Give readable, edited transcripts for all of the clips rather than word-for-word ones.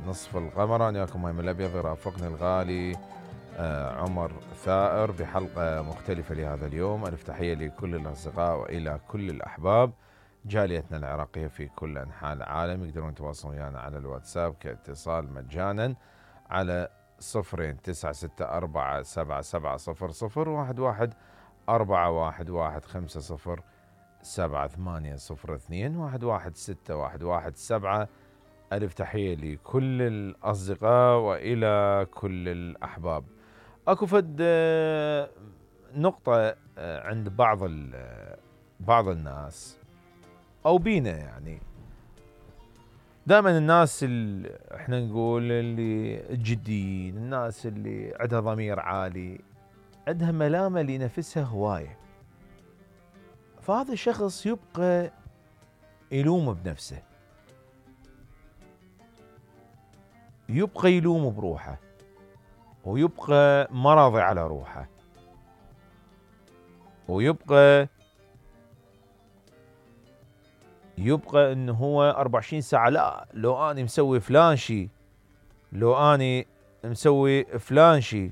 نصف القمر. أنا وياكم مايم الأبيض، يرافقني الغالي عمر ثائر بحلقة مختلفة لهذا اليوم. ألف تحية لكل الأصدقاء وإلى كل الأحباب جاليتنا العراقية في كل أنحاء العالم. يقدرون يتواصلون ويانا على الواتساب كاتصال مجانا على 02-964-7700-11 415-11702-116-117. ألف تحية لكل الأصدقاء وإلى كل الأحباب. أكو فد نقطة عند بعض الناس أو بينا، يعني دائما الناس اللي احنا نقول اللي الجديين، الناس اللي عندها ضمير عالي، عندها ملامة لنفسها هواية، فهذا الشخص يبقى يلوم بنفسه، يبقى يلوم بروحه، ويبقى مرضي على روحه، ويبقى انه هو 24 ساعة لا لو اني مسوي فلان شي، لو اني مسوي فلان شي،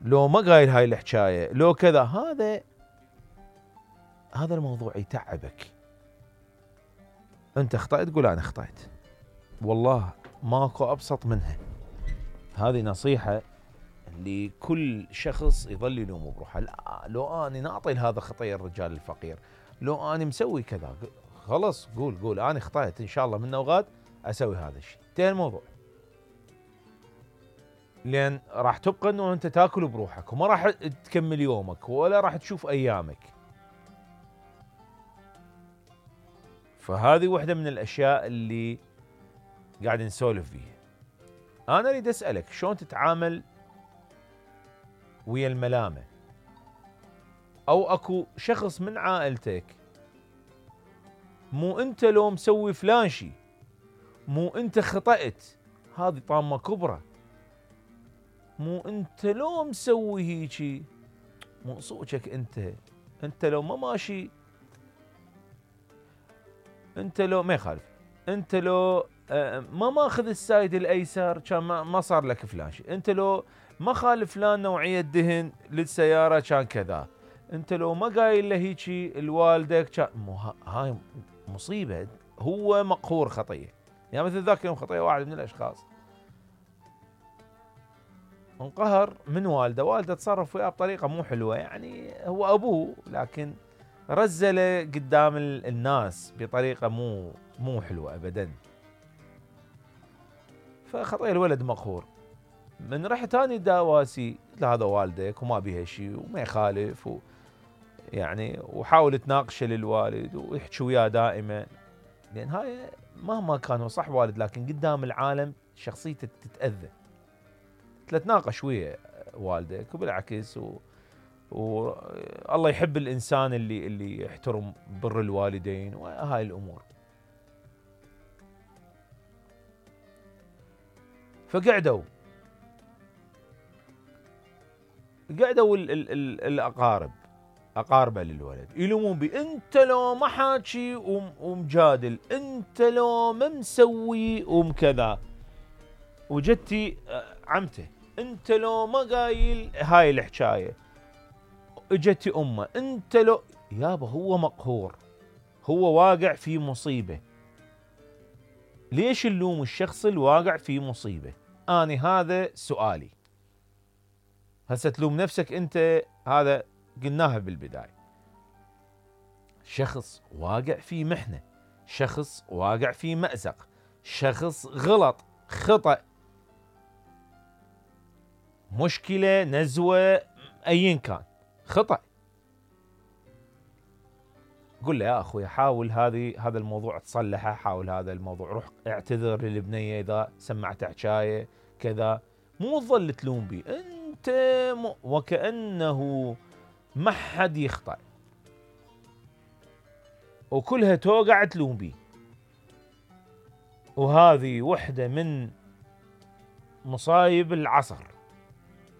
لو ما قايل هاي الحكاية، لو كذا. هذا الموضوع يتعبك. انت اخطأت تقول انا اخطأت، والله ماكو ابسط منها. هذه نصيحة لكل شخص يظل يلوم بروحه. لا لو اني ناطي لهذا خطية الرجال الفقير، لو اني مسوي كذا، خلص قول انا اخطأت، ان شاء الله من وغاد اسوي هذا الشيء. انتهى الموضوع، لان راح تبقى انه انت تاكل بروحك وما راح تكمل يومك ولا راح تشوف ايامك. فهذه واحدة من الاشياء اللي قاعد نسولف فيها. انا اريد اسألك شلون تتعامل ويا الملامة؟ او اكو شخص من عائلتك مو انت لو مسوي فلان شي، مو انت خطأت، هذه طامة كبرى، مو انت لو مسوي هيجي، مو صوتك انت لو ما ماشي، انت لو ما يخالف، انت لو ما ماخذ السايد الايسر كان ما صار لك فلان شيء، انت لو ما خالف فلان نوعية دهن للسيارة كان كذا، انت لو ما قايل له هيجي الوالدك كان هاي مصيبة. هو مقهور خطية، يعني مثل ذاك يوم خطية واحد من الاشخاص انقهر من والده تصرف وياه بطريقة مو حلوة، يعني هو ابوه لكن رزله قدام الناس بطريقة مو حلوة ابدا. فخطية الولد مقهور، من رحت اني داواسي هذا والدك وما بيها شيء وما يخالف يعني وحاول تناقشه للوالد ويحكي وياه دائما، لان هاي مهما كان هو صح والد لكن قدام العالم شخصيته تتأذى. تناقش ويا والدك وبالعكس والله يحب الانسان اللي يحترم بر الوالدين وهاي الامور. فقعدوا اقاربه للولد يلومون بي، انت لو ما حاكي ومجادل، انت لو ما مسوي ومكذا، وجدتي عمته انت لو ما قايل هاي الحكايه، اجتي امه انت لو يابا. هو مقهور، هو واقع في مصيبه. ليش نلوم الشخص الواقع في مصيبه؟ اني هذا سؤالي. هسه تلوم نفسك انت، هذا قلناها بالبدايه. شخص واقع في محنه، شخص واقع في مأزق، شخص غلط، خطأ، مشكله، نزوه، ايا كان خطأ، قل له يا اخوي حاول هذا الموضوع تصلحه، حاول هذا الموضوع، روح اعتذر للبنيه اذا سمعت حكايه كذا. مو تظل تلوم بي انت وكأنه ما حد يخطأ وكلها توقع تلوم بي. وهذه وحده من مصايب العصر.